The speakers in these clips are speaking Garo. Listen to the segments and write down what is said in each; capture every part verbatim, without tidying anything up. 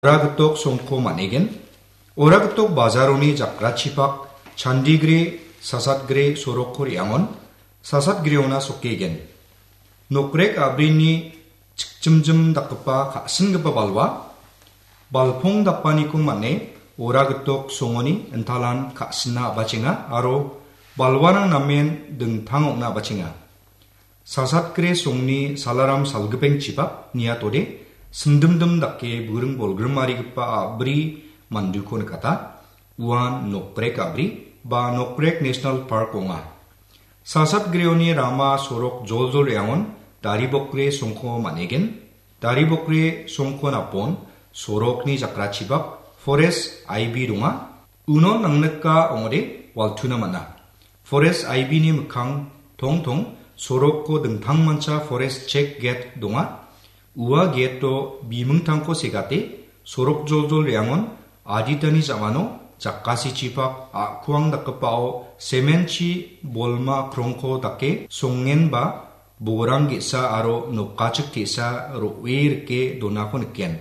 Ora gitok songko man·egen. Ora gitok bajaroni jakrachipak Chandigre, Sasatgre sorokko re·angon Sasatgreona sokegen. Nokrek a·brini chikjimjim dakgipa ka·singipa balwa, balpong dapaniko man·e ora gitok songoni intalan ka·sina a·bachenga aro balwarang namen dingtang ong·na a·bachenga. Sasatgre songni salaram salgipengchipak niatode simdimdim dake buring bolgrimarigipa a·bri manduko nikata. Uan Nokrek a·bri ba Nokrek National Park ong·a. Sasatgreoni rama sorok joljol re·angon Daribokre songko man·egen. Daribokre songko napon sorokni jakrachibak forest I B donga. Uno nangnika ong·ode waltuna man·a. Forest I B ni mikkang tongtong soroko dingtangmancha forest check gate donga. Ua gate-o bimingtangko segate sorok joljol re·angon aditani ja·mano jakasichipak a·kuang dakgipao sementchi bolma krongko dake songenba borang ge·sa aro nokachik te·sa ro·e rike donako niken.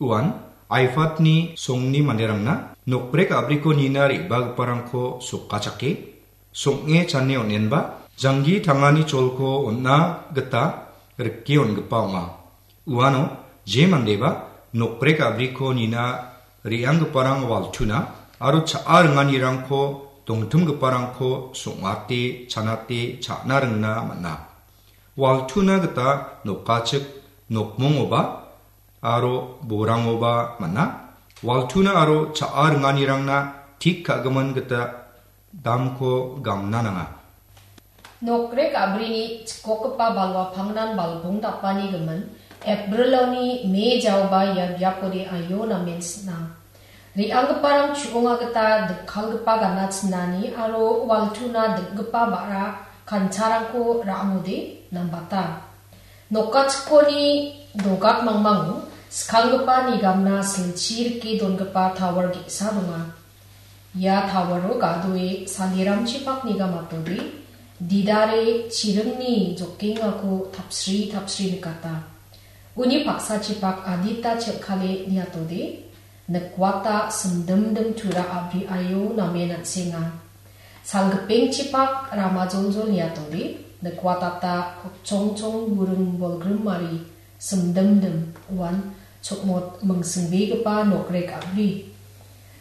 Uan Aifatni songni manderangna Nokrek a·briko nina re·bagiparangko sokachake, song·e chane on·enba, janggi tangani cholko on·na gita rike on·gipa ong·a. Uano je mandeba Nokrek a·briko nina re·anggiparang waltuna aro cha·a ringanirangko dongtimgiparangko song·ate, chanate, cha·na ringna man·a. Waltuna gita nokachik nokmongoba aro borangoba man·a. Waltuna aro cha·a ringanirangna tik ka·gimin gita damko gamna nanga. Nokrek a·brini chikokgipa balwa pangnan balbong dapani gimin, April-oni Me jaoba ia biapode aio namen sina. Re·anggiparang chu·onga gita dikkalgipa gana chinani aro waltuna dikgipa ba·ra kancharangko ra·angode nambata. Nokachikoni dogak mangmango skanggipa nigamna silchi rike dongipa tower ge·sa donga. Ia towero gadoe saliramchipak nigamatode, didare chiringni jokengako tapsri tapsri nikata. Uni paksachipak adita chel·kale niatode, nikwata simdimdim tura a·bri aio namen an·senga. Salgipengchipak rama joljol niatode, nikwatata chongchong buring bolgrimari simdimdim uan chokmot mingsingbegipa nokrek a·bri.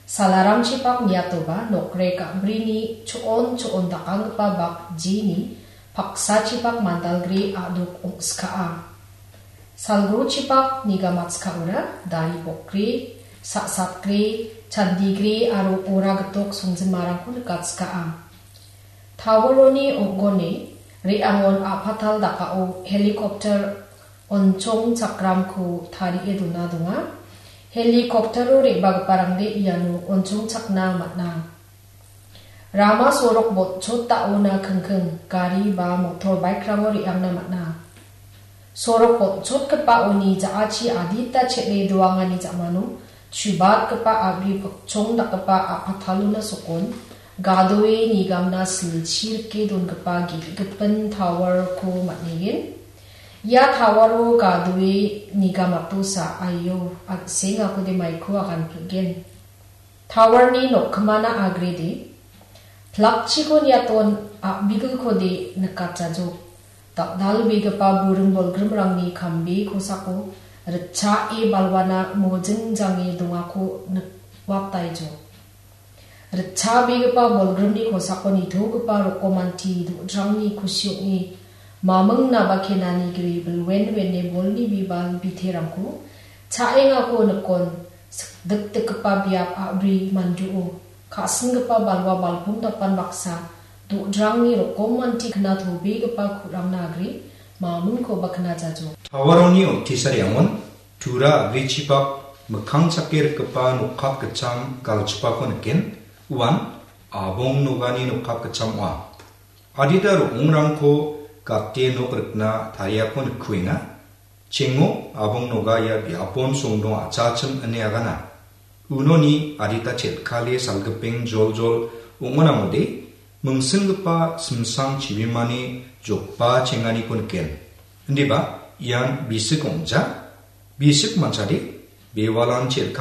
Salaramchipak niatoba nokrek a·brini cho·on cho·on dakanggipa bak jini paksachipak mandalgre a·dok ong·skaa. Salgrochipak nigamatskaora dari bokgre, sa·satgre, chandigre aro ora gitok songjimarangko nikatskaa. Toweroni ong·gone re·angon a·patal dakao helicopter onchongchakramko tarie dona donga. Helicoptero re·bagiparangde iano onchongchakna man·a. Rama sorok botchot da·ona kingking gari ba motor bike-rango re·angna man·a. Sorok botchotgipaoni ja·achi adita chel·e doangani ja·mano chubatgipa a·bri pokchong dakgipa a·patalona sokon gadoe nigamna silchi rike dongipa ge·gipin tower-ko man·engen. Ia tower-o gadoe nigamatosa aio an·sengakode maiko aganpilgen. Tower-ni nokkimana agrede. Plakchiko niaton a·bigilkode nikatjajok. Dal·dalbegipa buring bolgrimrangni kambe kosako ritchae balwana mojingjange dongako nikwataijok. Ritchabegipa bolgrimni kosako nitogipa rokomanti do·drangni kusi ong·e maming naba kenani gri bilwen wene bolni bibal biterangko cha·engako nikon sikdikdikgipa biap a·bri manduo ka·singipa balwa balpong dapan baksa do·drangni rokom manti kna tobegipa ku·rangna agre mamingkoba knajajo. Tower-oni otisariangon tura a·brichipak mikkang chake rikgipa nokkap gitcham galchipako niken, uan abong nogani nokkap gitcham ong·a. Adita ro·ongrangko gate nok rikna tariako nikkuenga. Chengo abong noga ia biapon songdong a·chachim ine agana. Unoni adita chel·kale salgipeng joljol ong·onamode mingsinggipa simsang chibimani jokba chenganiko niken. Indiba ian bisik ong·ja, bisik manchade bewalan chel·kale